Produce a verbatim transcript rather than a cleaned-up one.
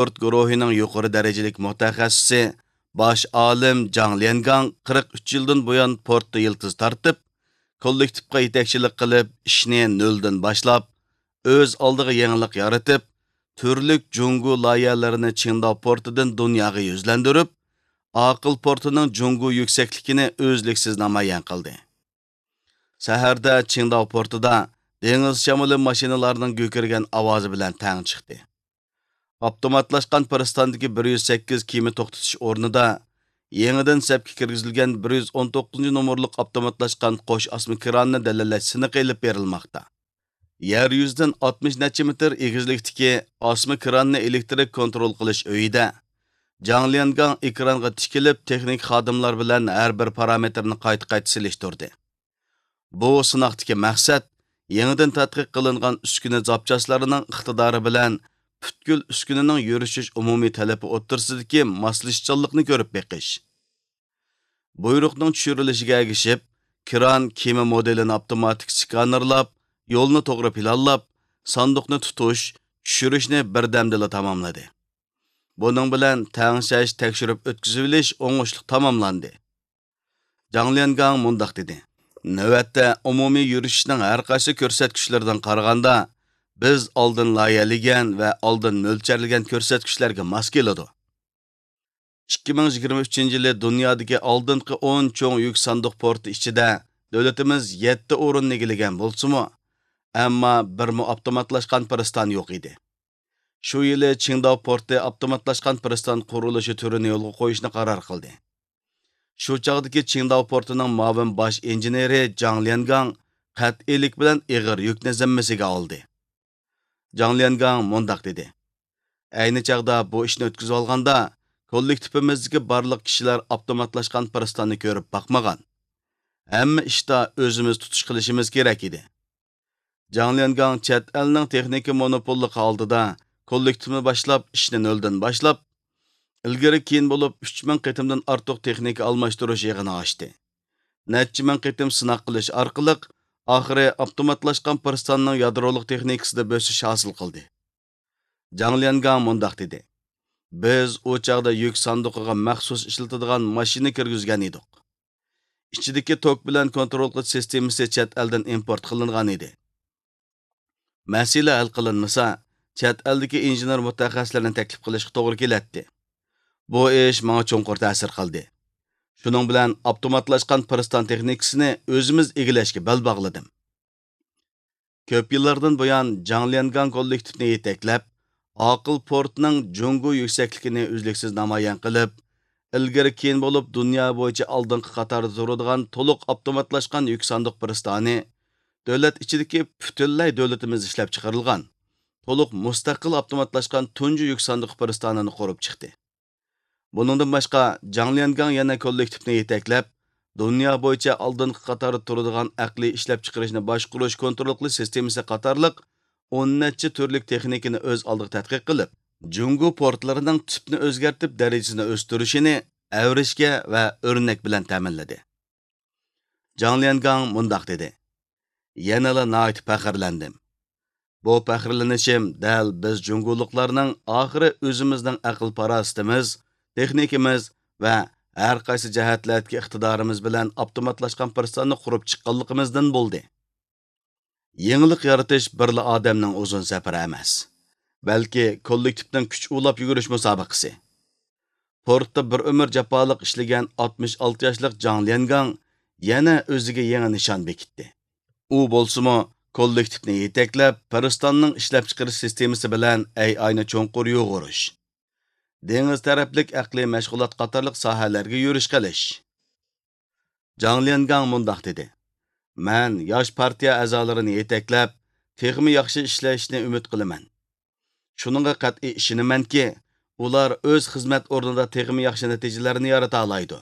پورت گۇرۇھىنىڭ يۇقىرى دەرىجىلىك مۇتەخەسسىسى، باش ئالىم جاڭ ليەنگاڭ قىرىق ئۈچ يىلدىن بۇيان پورتتا يىلتىز تارتىپ، كوللېكتىپقا يېتەكچىلىك قىلىپ، ئىشنى نۆلدىن باشلاپ، ئۆز ئالدىغا يېڭىلىق يارىتىپ، تۈرلۈك جۇڭگو لايىھەلىرىنى چىڭداۋ پورتىدىن دۇنياغا يۈزلەندۈرۈپ، ئاقىل پورتىنىڭ جۇڭگو يۈكسەكلىكىنى ئۈزلۈكسىز نامايان قىلدى. سەھەردە چىڭداۋ پورتىدا دېڭىز شامىلى ماشىنىلارنىڭ گۈكۈرگەن ئاۋازى بىلەن تەڭ چىقتى. ئاپتوماتلاشقان پىرىستاندىكى بىر يۈز سەككىز كېمە توختىتىش ئورنىدا يېڭىدىن سەپكە كىرگۈزۈلگەن بىر يۈز ئون توققۇزىنچى نومۇرلۇق ئاپتوماتلاشقان قوش ئاسما كراننى دەلىللەش سىنىقى ئېلىپ بېرىلماقتا. يەر يۈزىدىن ئاتمىش نەچچە مېتىر ئېگىزلىكتىكى ئاسما كراننى ئېلېكتىرىك كونترول قىلىش ئۆيىدە جاڭ ليەنگاڭ ئېكرانغا تىكىلىپ، تېخنىك خادىملار بىلەن ھەر بىر پارامېتىرنى قايتا-قايتا سېلىشتۇردى. بۇ سىناقتىكى مەقسەت يېڭىدىن تەتقىق قىلىنغان ئۈسكۈنە زاپچاسلىرىنىڭ ئىقتىدارى بىلەن پۈتكۈل ئۈسكۈنىنىڭ يۈرۈشۈش ئومۇمىي تەلىپى ئوتتۇرىسىدىكى ماسلىشىشچانلىقنى كۆرۈپ بېقىش. بۇيرۇقنىڭ چۈشۈرۈلۈشىگە ئەگىشىپ، كران كېمە مودېلىنى ئاپتوماتىك سكانېرلاپ، يولنى توغرا پىلانلاپ، ساندۇقنى تۇتۇش، چۈشۈرۈشنى بىردەمدىلا تاماملىدى. بۇنىڭ بىلەن تەڭشەش، تەكشۈرۈپ ئۆتكۈزۈۋېلىش ئوڭۇشلۇق تاماملاندى. جاڭ ليەنگاڭ مۇنداق دېدى: نۆۋەتتە ئومۇمىي يۈرۈشۈشنىڭ ھەر قايسى كۆرسەتكۈچلىرىدىن قارىغاندا، بىز ئالدىن لايىھەلىگەن ۋە ئالدىن مۆلچەرلىگەن كۆرسەتكۈچلەرگە ماس كېلىدۇ. ئىككى مىڭ يىگىرمە ئۈچىنچى يىلى دۇنيادىكى ئالدىنقى ئون چوڭ يۈك ساندۇق پورتى ئىچىدە دۆلىتىمىز يەتتە ئورۇننى ئىگىلىگەن بولسىمۇ، ئەمما بىرمۇ ئاپتوماتلاشقان پىرىستان يوق ئىدى. شۇ يىلى چىڭداۋ پورتى ئاپتوماتلاشقان پىرىستان قۇرۇلۇشى تۈرىنى يولغا قويۇشنى قارار قىلدى. شۇ چاغدىكى چىڭداۋ پورتىنىڭ مۇئاۋىن باش ئىنژېنېرى جاڭ ليەنگاڭ قەتئىيلىك بىلەن ئېغىر يۈكنى زىممىسىگە ئالدى. جاڭ ليەنگاڭ مۇنداق دېدى: ئەينى چاغدا بۇ ئىشنى ئۆتكۈزۈۋالغاندا، كوللېكتىپىمىزدىكى بارلىق كىشىلەر ئاپتوماتلاشقان پىرىستاننى كۆرۈپ باقمىغان. ھەممە ئىشتا ئۆزىمىز تۇتۇش قىلىشىمىز كېرەك ئىدى. جاڭ ليەنگاڭ چەت ئەلنىڭ تېخنىكا مونوپوللۇقى ئالدىدا كوللېكتىپنى باشلاپ، ئىشنى نۆلدىن باشلاپ، ئىلگىرى كېيىن بولۇپ ئۈچ مىڭ قېتىمدىن ئارتۇق تېخنىكا ئالماشتۇرۇش يىغىنى ئاچتى. نەچچە مىڭ قېتىم سىناق قىلىش ئارقىلىق، ئاخىرى ئاپتوماتلاشقان پىرىستاننىڭ يادرولۇق تېخنىكىسىدا بۆسۈش ھاسىل قىلدى. جاڭ ليەنگاڭ مۇنداق دېدى: بىز ئۇ چاغدا يۈك ساندۇقىغا مەخسۇس ئىشلىتىدىغان ماشىنا كىرگۈزگەن ئىدۇق. ئىچىدىكى توك بىلەن كونترول قىلىش سىستېمىسى چەت ئەلدىن ئىمپورت قىلىنغان ئىدى. مەسىلە ھەل قىلىنمىسا، چەت ئەلدىكى ئىنژېنېر مۇتەخەسسىسلەرنى تەكلىپ قىلىشقا توغرا كېلەتتى. بۇ ئىش ماڭا چوڭقۇر تەسىر قىلدى. شۇنىڭ بىلەن ئاپتوماتلاشقان پىرىستان تېخنىكىسىنى ئۆزىمىز ئىگىلەشكە بەل باغلىدىم. كۆپ يىللاردىن بۇيان جاڭ ليەنگاڭ كوللېكتىپنى يېتەكلەپ، ئاقىل پورتنىڭ جۇڭگو يۈكسەكلىكىنى ئۈزلۈكسىز نامايان قىلىپ، ئىلگىرى كېيىن بولۇپ دۇنيا بويىچە ئالدىنقى قاتاردا تۇرىدىغان تولۇق ئاپتوماتلاشقان يۈك ساندۇق پىرىستانى، دۆلەت ئىچىدىكى پۈتۈنلەي دۆلىتىمىزدە ئىشلەپچىقىرىلغان، تولۇق مۇستەقىل ئاپتوماتلاشقان تۇنجى يۈك ساندۇق پىرىستانىنى قۇرۇپ چىقتى. بۇنىڭدىن باشقا، جاڭ ليەنگاڭ يەنە كوللېكتىپنى يېتەكلەپ، دۇنيا بويىچە ئالدىنقى قاتاردا تۇرىدىغان ئەقلىي ئىشلەپچىقىرىشنى باشقۇرۇش، كونترول قىلىش سىستېمىسى قاتارلىق ئون نەچچە تۈرلۈك تېخنىكىنى ئۆز ئالدىغا تەتقىق قىلىپ، جۇڭگو پورتلىرىنىڭ تىپنى ئۆزگەرتىپ دەرىجىسىنى ئۆستۈرۈشىنى ئەۋرىشكە ۋە ئۆرنەك بىلەن تەمىنلىدى. جاڭ ليەنگاڭ مۇنداق دېدى: يەنىلا ناھايىتى پەخىرلەندىم. بۇ پەخىرلىنىشىم دەل بىز جۇڭگولۇقلارنىڭ ئاخىرى ئۆزىمىزنىڭ ئەقىل-پاراسىتىمىز، تېخنىكىمىز ۋە ھەر قايسى جەھەتلەردىكى ئىقتىدارىمىز بىلەن ئاپتوماتلاشقان پىرىستاننى قۇرۇپ چىققانلىقىمىزدىن بولدى. يېڭىلىق يارىتىش بىرلا ئادەمنىڭ ئۇزۇن سەپىرى ئەمەس، بەلكى كوللېكتىپنىڭ كۈچ ئۇلاپ يۈگۈرۈش مۇسابىقىسى. پورتتا بىر ئۆمۈر جاپالىق ئىشلىگەن ئاتمىش ئالتە ياشلىق جاڭ ليەنگاڭ يەنە ئۆزىگە يېڭى نىشان بېكىتتى. ئۇ بولسىمۇ كوللېكتىپنى يېتەكلەپ، پىرىستاننىڭ ئىشلەپچىقىرىش سىستېمىسى بىلەن ئەي ئاينى چوڭقۇر يۇغۇرۇش، دېڭىز تەرەپلىك ئەقلىي مەشغۇلات قاتارلىق ساھەلەرگە يۈرۈش قىلىش. جاڭ ليەنگاڭ مۇنداق دېدى: مەن ياش پارتىيە ئەزالىرىنى يېتەكلەپ، تېخىمۇ ياخشى ئىشلەشنى ئۈمىد قىلىمەن. شۇنىڭغا قەتئىي ئىشىنىمەنكى، ئۇلار ئۆز خىزمەت ئورنىدا تېخىمۇ ياخشى نەتىجىلەرنى يارىتالايدۇ.